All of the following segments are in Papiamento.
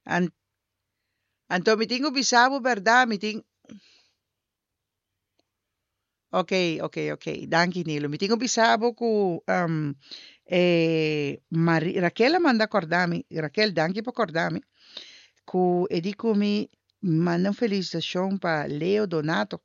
Anto mi tin ku bisa bo bèrdat, mi tin. Ok, ok, ok. Danki Nilo. Mi tin ku bisa bo ku e Mari, Raquel a manda kòrda mi, Raquel danki pa kòrda mi, ku e di ku mi manda un felisitashon pa Leo Donato,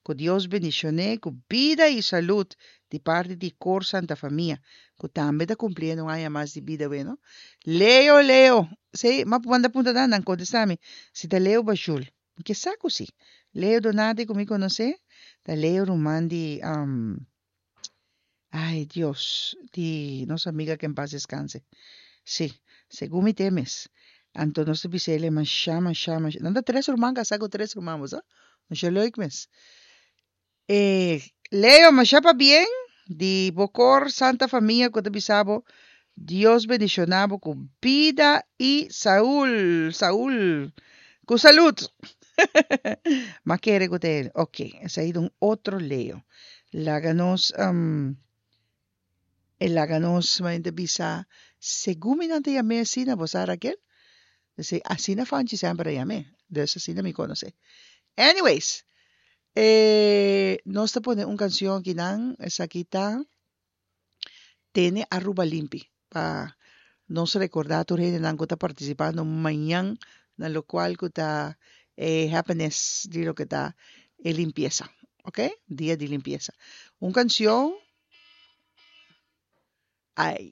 ku Dios bendishon'é ku bida i salud di parti di Kor Santa Famia, ku tambe ta kumpliendo un aña mas di bida weno. Leo, Leo! Sí, m'a manda punta nan, nan kontestá mi, si ta Leo Bashul. Mi ke sa ku si. Leo Donati ku mi konosé ta Leo ruman di ay Dios di nos amiga ke en pas deskanse. Si, segun mi te mes. Anto nos ta bisa el'e mashá mashá mashá. Nan ta tres ruman kasá ku tres ruman bo sa. Masha leuk mes. E Leo masha pabien di bo kor Santa Famia ku ta bisa bo Dios bendiciona bo ku bida i Saul Saul ku salud Ma kere ku ta el ok esei ta un otro Leo laga nos e laga nos manera ta bisa segun mi nan ta yam'é asina bo sa Raquel Esei asina Fanchi semper a yam'é dus asina mi konos'é anyways E nos ta pone un cancion akinan, esaki ta Tene Aruba Limpi, pa nos recorda tur hendenan cu ta participando mañan na locual cu ta e happiness di loke ta e limpieza, ok, dia di limpieza. Un cancion, ay.